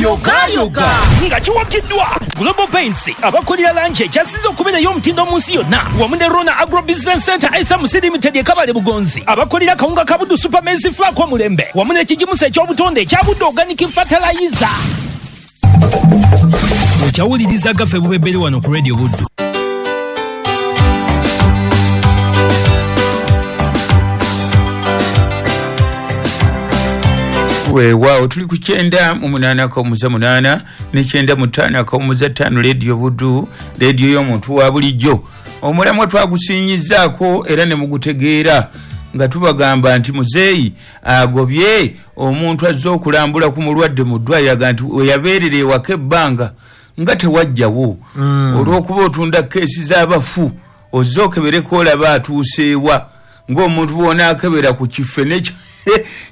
Yogayoga nga kiwagiddwa Global Paints, abakolera langi ekyasinze okubeera ey'omutindo mu nsi yonna, wamu ne Rona Agro Business Center SMC Limited e Kabale Bugonzi, abakolera kawunga ka Buddu Super Maize Flour omulembe, wamu n'ekigimusa eky'obutonde ekya Buddu Organic Fertilizer. Okyawuliriza gaffe bubebbere wano ku Radio Buddu. Weewaawo, tuli ku 98.8 ne 95.5 Radio Buddu, rediyo y'omuntu wa bulijjo. Omulamwa twagusinyizaako era ne mugutegeera nga tubagamba nti muzeeyi agobye omuntu azze okulambula ku mulwadde mu ddwaliro, aga nti weyabeerera ewaka ebbanga nga tewajjawo, olw'okuba otunda keesi z'abafu, ozze okebereko olaba atuuseewa, ng'omuntu bw'onaakebera ku kife ne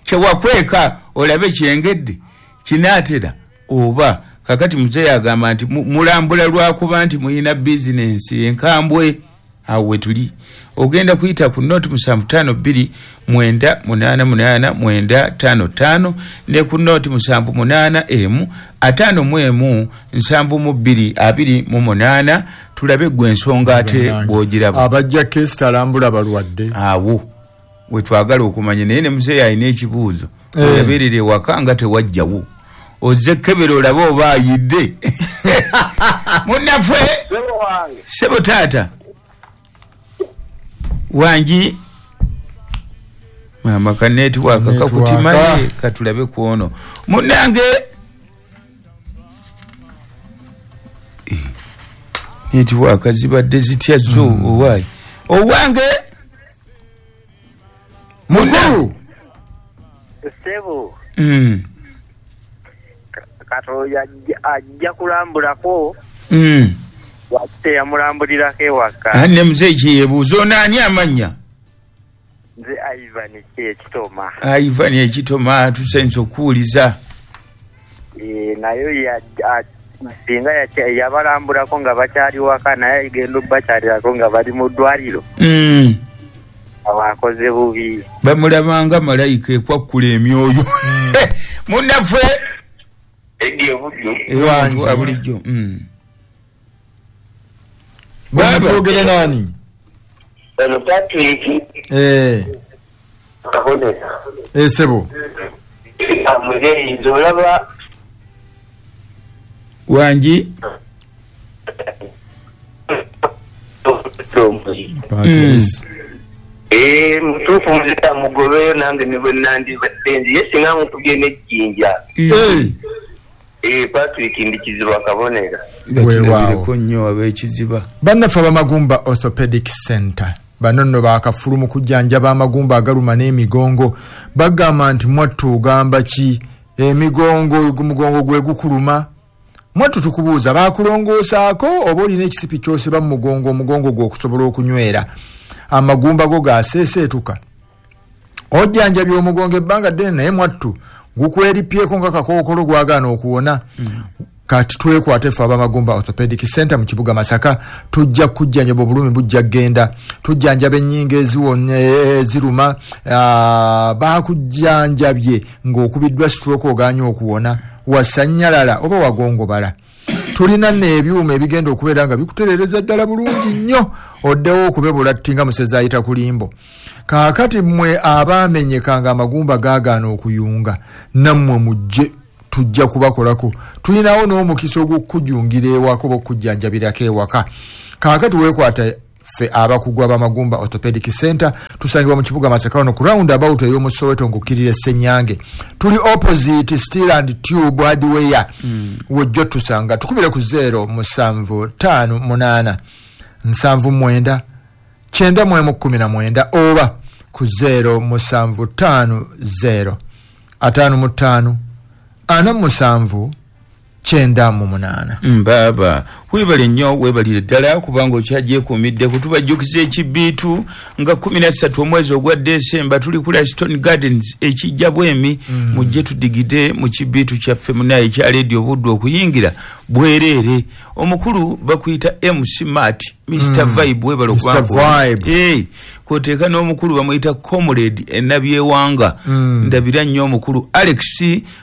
kyewakweka olabe kyengedde kinaatera oba. Kakati muzeeyi agamba nti mulambula lwakuba nti muyina bizinensi enkambwe. Awo wetuli ogenda kuyita ku 075 2 988 955 ne ku 078 51 72 28. Tulabe gwe ensonga ate bw'ogiraba. Abajja keesi talambula balwadde. Awo wetwagala okumanya, naye ne muzeeyi alina ekibuuzo. Oyabeerera ewaka nga tewajjawo, ozze kebera olabe oba ayidde. Munnaffe sebo taata wangi, mama ka netiwaaka kakutimaye, katulabe kwono munnange. Netiwaaka zibadde zitya zo? Owaayi owange mukulu sebo. Kato ajja kulambulako, wate yamulambulirako ewaka. Ne muzeeyi kyeyebuuza ono ani amannya? Nze Ivan Ekitoma. Ivan Ekitoma, tusenze okuwuliza. Naye singa yabalambulako nga bakyali waka, naye genda obakyalirako nga bali mu ddwaliro, abakoze bubi. Bamulabanga malayika ekwakkula emyoyo. Munnaffe Wangi. Bulijjo. Baba twogere nani? Ono Patrick. Kaboneka. Sebo. Muzeeyi nze olaba wangi. Patrice. Mutuufu muzeeyi amugobeyo, nange ne bwe nandibadde nze ye singa mukubye n'ejjinja. Patrick ndi Kiziba Kabonera. Weewaawo nnyo ab'ekiziba. Bannaffe ab'Amagumba Orthopedic Center bano nno bakafulu mu kujjanjaba amagumba agaluma n'emigongo. Bagamba nti mwattu ogamba ki? Emigongo, omugongo gwe gukuluma. Mwattu tukubuuza, bakulongoosaako oba olina ekisipi ky'osiba mu mugongo, omugongo gwo okusobola okunywera? Amagumba go gaseeseetuka. Ojjanjabye omugongo ebbanga ddene, naye mwattu gukweripyeko nga kakookolo gwagaana okuwona. Kati twekwate ffe ab'Amagumba Orthopedic Center mu kibuga Masaka, tujja kujjanjaba obulumi bujja kgenda, tujjanjaba ennyingo eziruma, bakujjanjabye ng'okubiddwa stroke ogaanye okuwona, wasannyalala oba wagongobala. Tulina n'ebyuma ebigenda okubeera nga bikutereereza ddala bulungi nnyo, oddewo okubebula tti nga musezi ayita ku limbo. Kaakati mmwe abaamenyeka nga amagumba gaagaana okuyunga, nammwe mujje, tujja kubakolako. Tulinawo n'omukisa ogw'okujungira ewaka oba okujjanjabirako ewaka. Kaakati weekwata ffe abakugu ab'Amagumba Orthopedic Center, tusangibwa mu kibuga Masaka wano ku round about ey'omu Soweto ng'okkirira Ssenyange. Tuli opposite Steel and Tube Hardware. Wojja tusanga, tukubire ku 0758 79 91 19 oba ku 0750 55 47 98. Mbaba Webale nnyo, webalire ddala kubanga okyagyekuumidde. Kutubajjukiza ekibiitu nga 13 omwezi ogwa Desemba tuli ku Laston Gardens ekijja Bwemi. Mujje tudigide mu kibiitu kyaffe munaye ekya Radio Buddu, okuyingira bwereere. Omukulu bakuyita MC Mat, Mr. Vibe, webale. Mr. Vibe. Kwoteeka n'omukulu bamuyita Comrade Enabyewanga. Ndabira nnyo omukulu Alex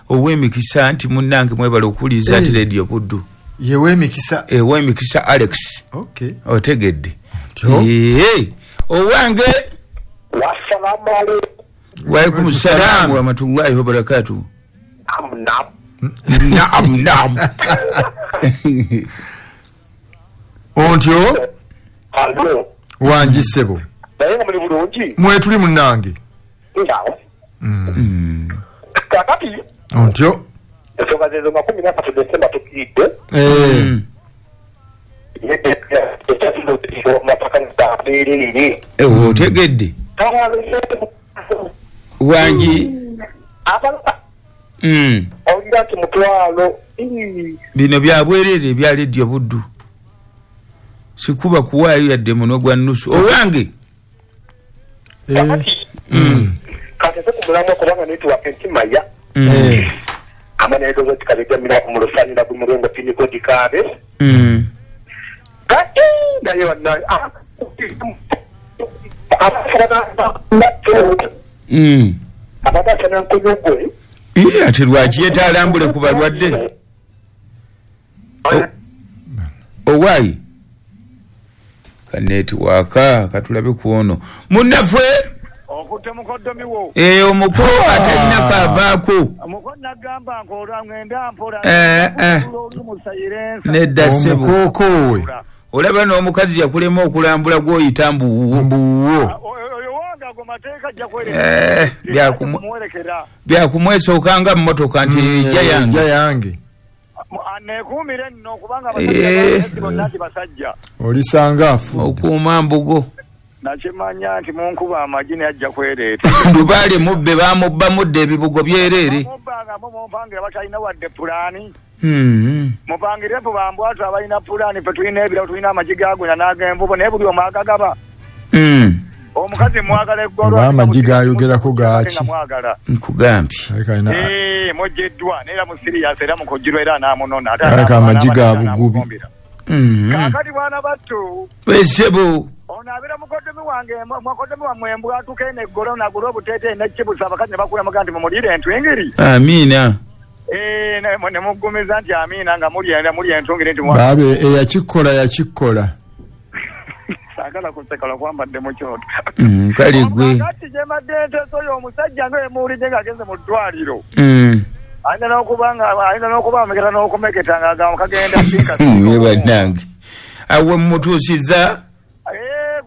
ow'emikisa nti munnange mwebale okuwuliriza ati Radio Buddu. Yewemikisa. Ew'emikisa Alex. Okay. Otegedde? Tyo. Owange. Wassalamu alaikum. Waalaikum salaam warahmatullahi wabarakatuh. Naam. Naam, naam. Ontyo. Alo. Wangi ssebo. Naye nga muli bulungi? Mwetuli munnange. Naawo. Kakati Ontyo. ensonga zezo nga 13 Desemba tukiidde. Ekyasimatakanabeerere. Otegedde? Wangi. Owulira nti mutwalo. Bino byabwerere ebya Radio Buddu, sikuba kuwaayo yadde muno gwa nnusu. Owange. Kakati katese ku mulamwa, kubanga netiwaka enkimaya. Amaneedozo tikabijamira ku mulusanira gumulengo pinikodi kaabe. Kati naye bannaye abadde nankunyugwe. Ate lwaki yetalambule ku balwadde? Owaayi kanetiwaka, katulabe ku ono munnaffe. Okutte mukoddomi wo. Omukulu atalina kaavaako. Muko nagamba nkola ngenda mpola. Oli musayirensa. Nedda ssebo. Omukookoowe. Olaba n'omukazi yakulema okulambula gw'oyita mbuwuwo. Mbuwuwo. Oyo wange ago mateeka ajja kwerekera. Kumuwerekera. Byakumwesooka nga mmotoka nti ejja yange. Ejja yange. Aneekuumire nno kubanga abasajja bonna nti basajja. Olisanga afu. Okuuma mbugo. Nakimanya nti munkuba amagi naye ajja kwereeta. Lubaale mubbe, bamubba mudde ebibugo byereere. Mubbanga mumpangira batalina wadde pulaani. Mupangire mpu bambwatu abalina pulaani, ffe tulina ebirabo, tulina amagi gagwena n'ag'envubo, naye buli omu agagaba. Omukazi mwagala eggolo. Oba amagi gayogerako gaaki? Mwagala. Nkugambye. Aleka alina Mujjiddwa naye era mu siriyasi era mukugirwa era anaamunona. Ate Aleka amagi ga bugubi. Kaakati bwana battu. Esebo. Ono abeera mukoddomi wange, mukoddomi wammwe embwatuka eno eggolo nagula obuteeteeyi n'ekibusa, abakazi ne bakulamuga nti mumuliire entwingiri. Amiina. Ne muggumiza nti amiina nga muli entungiri nti Baabe eyakikola yakikola. Saagala kuseka lwakwambadde mu kyoto. Kale gwe. Kati gye mbadde nteesa oyo omusajja nga emuwulidde ng'agenze mu ddwaliro. Ayinza n'okuba nga ayinza n'okuba ameketa n'okumeketa ng'agamba kagenda sinka. Bannange. Awo mmutuusizza.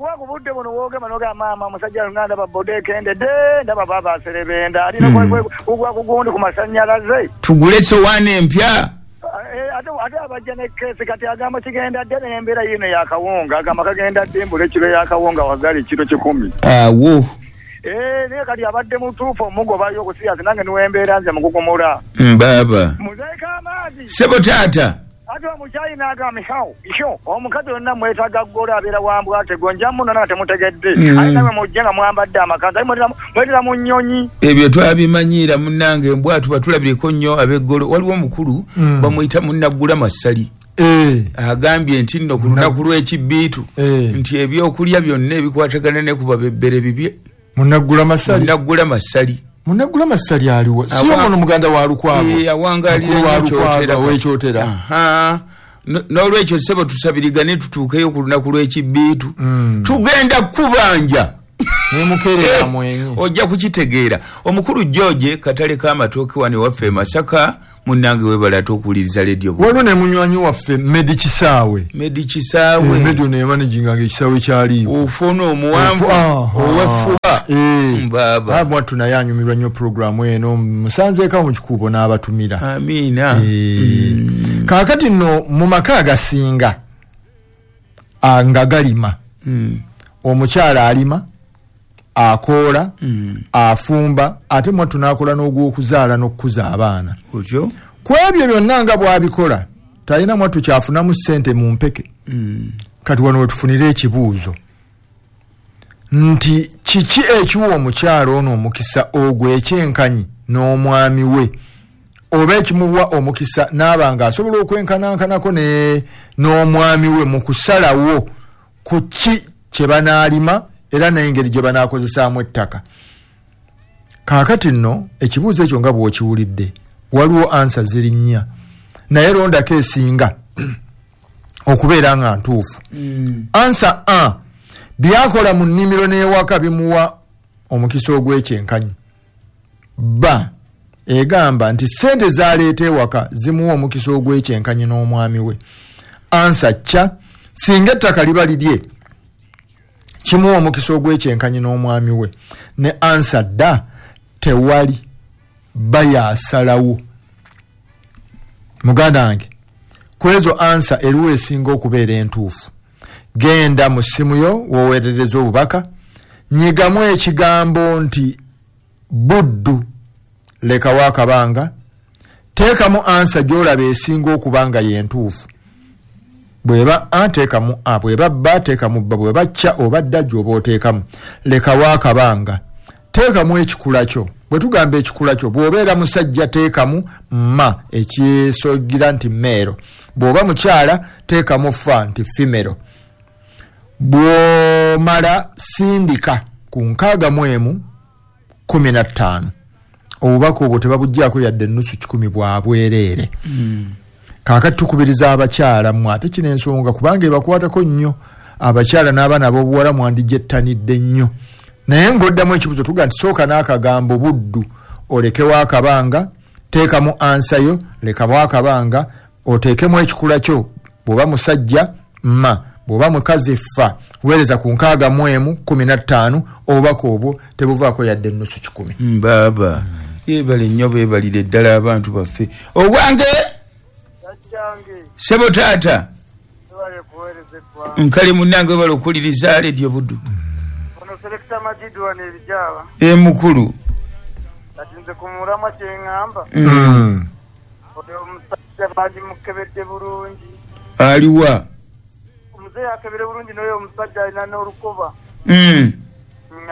Kuba ku budde buno woogema n'ogamba maama omusajja nga ndaba boda ekendedde, ndaba baaba aserebenda, alina kugwa ku gundi ku masannyalaze. Tugule essowaani empya. Ate abajja ne keesi kati agamba kigenda dde n'embeera yiino yakawunga, agamba kagenda dde mbula ekiro yakawunga wagali kiro 10. Awo. Naye kati abadde mutuufu omugobayo okusiyasi nange niwe embeera nze mugugumula. Baaba. Muzeeko amaanyi. Ssebo taata. Ate omukyayina n'agamba isho omukazi yonna mwetaaga ggola abeera wambwate gonja muno nange temutegedde. Ate nammwe mujje nga mwambadde amakanzu, ate mwetera mu nnyonyi. Ebyo twabimanyiira munnange, embwatu batulabireko nnyo ab'eggolo. Waliwo omukulu bamuyita Munnaggula Masali. Agambye nti nno ku lunaku lw'ekibiitu nti ebyokulya byonna ebikwatagana ne ku babebbere bibye. Munnaggula Masali. Munnaggula Masali. Munnaggula Masali aliwo. Si ono muganda wa Lukwago. Awangalira Kyotera. Ow'Ekyotera. N'olwekyo ssebo tusabirigane tutuukeyo ku lunaku lw'ekibiitu. Tugenda kubanja. Nemukeerera mwenye. Ojja kukitegeera. Omukulu George katale k'amatooke wano waffe e Masaka, munnange weebale ate okuwuliriza Radio Buddu. Waliwo ne munywanyi waffe Medi Kisaawe. Medi Kisaawe. Medi ono yamanaginga ekisaawe kyaliiwo. Ofuuna omuwanvu ow'effuba. Baaba. Mwattu naye anyumirwa nnyo pulogulaamu eno, musanzeeko mu kikuubo n'abatumira. Amiina. Kaakati nno mu maka agasinga nga galima, omukyala alima, akoola, afumba, ate mwattu n'akola n'ogw'okuzaala n'okukuza abaana. Otyo? Ku ebyo byonna nga bw'abikola, Talina mwattu kyafunamu ssente mu mpeke. Kati wano wetufunire ekibuuzo nti kiki ekiwa omukyala ono omukisa ogw'ekyenkanyi n'omwami we, oba ekimuwa omukisa n'aba nga asobola okwenkanankanako n'omwami we mu kusalawo ku ki kye banaalima era n'engeri gye banaakozesaamu ettaka. Kaakati nno ekibuuzo ekyo nga bw'okiwulidde waliwo ansa ziri nnya, naye londako esinga okubeera nga ntuufu. Ansa A, byakola mu nnimiro n'ewaka bimuwa omukisa ogw'ekyenkanyi. B, egamba nti ssente z'aleeta ewaka zimuwa omukisa ogw'ekyenkanyi n'omwami we. Ansa C, singa ettaka liba lirye kimuwa omukisa ogw'ekyenkanyi n'omwami we. Ne ansa D, tewali, bayasalawo. Muganda wange, ku ezo ansa eriwo esinga okubeera entuufu. Genda mu ssimu yo w'oweerereza obubaka, nyigamu ekigambo nti Buddu, lekawo akabanga, teekamu ansa gy'olaba esinga okuba nga y'entuufu. Bw'eba A teekamu A, bw'eba B teekamu B, bw'eba C oba D gy'oba oteekamu, lekawo akabanga, teekamu ekikula kyo. Bwe tugamba ekikula kyo, bw'obeera musajja teekamu ma ekyesogira nti male, bw'oba mukyala teekamu fa nti female. Bw'omala sindika ku 61 15. Obubaka obwo tebabuggyako yadde nusu 10 bwa bwereere. Kaakati tukubiriza abakyala mmwe, ate kino ensonga kubanga ebakwatako nnyo abakyala n'abaana ab'obuwala mwandigyettanidde nnyo. Naye ng'oddamu ekibuuzo tuga nti sooka n'akagambo Buddu, olekewo akabanga, teekamu ansayo, lekawo akabanga, oteekemu ekikula kyo. Bw'oba musajja ma, bw'oba mukazi fa, weereza ku 61 15. Obubaka obwo tebuvaako yadde nusu 10. Baaba yeebale nnyo, beebalire ddala abantu baffe. Owange sebo taata, nkale munnange webale okuwuliriza Leediyo Buddu. Mukulu kati nze ku mulamwa kye ŋŋamba, oyo omusajja bandimukebedde bulungi. Aliwa? Omuzeeyi akebere bulungi n'oyo omusajja alina n'olukoba.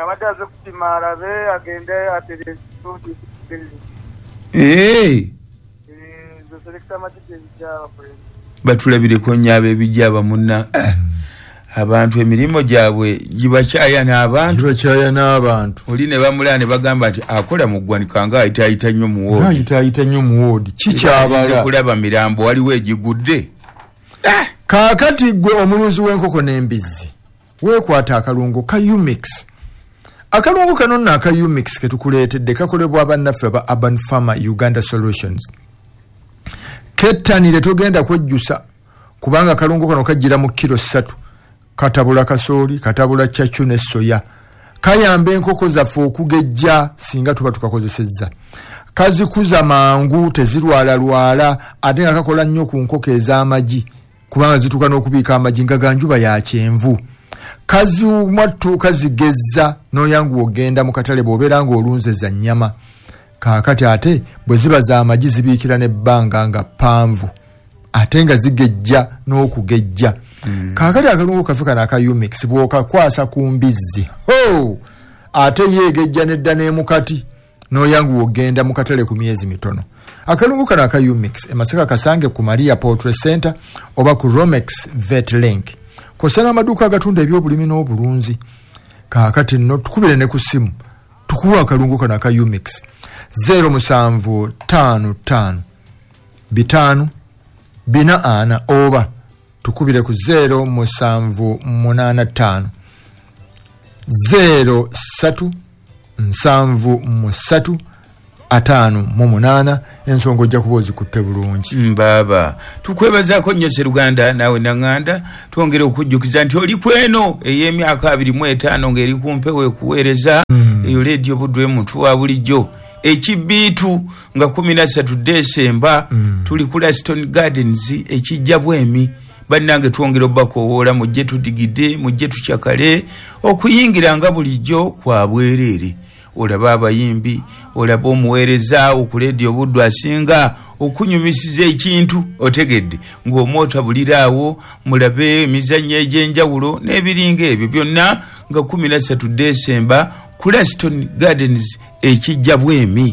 Abadde aze kupima alabe agende atereeze. Batulabireko nnyo ab'ebijjaba munna. Abantu emirimu gyabwe gibakyaya n'abantu. Oli ne bamulaba ne bagamba nti akola mu ggwanika nga ayitaayita nnyo mu woodi. Ayitaayita nnyo mu woodi. Kikyabala. Kulaba mirambo waliwo egigudde. Kaakati ggwe omulunzi w'enkoko n'embizzi weekwata akalungo ka Umix. Akalungo kano nno aka Umix ke tukuleetedde kakolebwa bannaffe aba Urban Farmer Uganda Solutions. Kettanire, togenda kwejjusa kubanga akalungo kano kajjira mu kiro 3. Katabula kasooli, katabula cacu ne soya. Kayamba enkoko zaffe okugejja singa tuba tukakozesezza. Kazikuza mangu, tezirwalalwala, ate nga kakola nnyo ku nkoko ez'amagi kubanga zituuka n'okubiika amagi nga ga njuba ya kyenvu. Kaziwattu kazigezza n'oyanguwa ogenda mu katale bw'obeera ng'olunze za nnyama. Kaakati ate bwe ziba z'amagi zibiikira n'ebbanga nga ppanvu, ate nga zigejja n'okugejja. Kaakati akalungu kaffe kano aka Umix bw'okakwasa ku mbizzi, ate yeegejja nedda n'emukati n'oyanguwa ogenda mu katale ku myezi mitono. Akalungu kano aka Umix e Masaka kasange ku Maria Poultry Center oba ku Romex Vet Link. Kw'ossa n'amaduuka agatunda ebyobulimi n'obulunzi. Kaakati nno tukubire ne ku ssimu tukuwa akalungu kano aka Umix 0755 5 4 oba tukubire ku 0785 03 73 58. Ensonga ojja kuba ozikutte bulungi. Baaba tukwebazaako nnyo Sseruganda naawe Naŋŋanda. Twongere okujjukiza nti oli kweno ey'emyaka 25 ng'eri ku mpewo ekuweereza eyo Leediyo Buddu emuntu wa bulijjo. Ekibiitu nga 13 Desemba tuli ku Laston Gardens ekijja Bwemi. Bannange twongere obbakowoola, mujje tudigide, mujje tukyakale. Okuyingira nga bulijjo kwa bwereere. Olabe abayimbi, olabe omuweereza ku Leediyo Buddu asinga okunyumisiza ekintu, otegedde, ng'omwoto abuliraawo. Mulabe emizannyo egy'enjawulo n'ebiringa ebyo byonna nga 13 Desemba ku Laston Gardens, ekijja bwemi.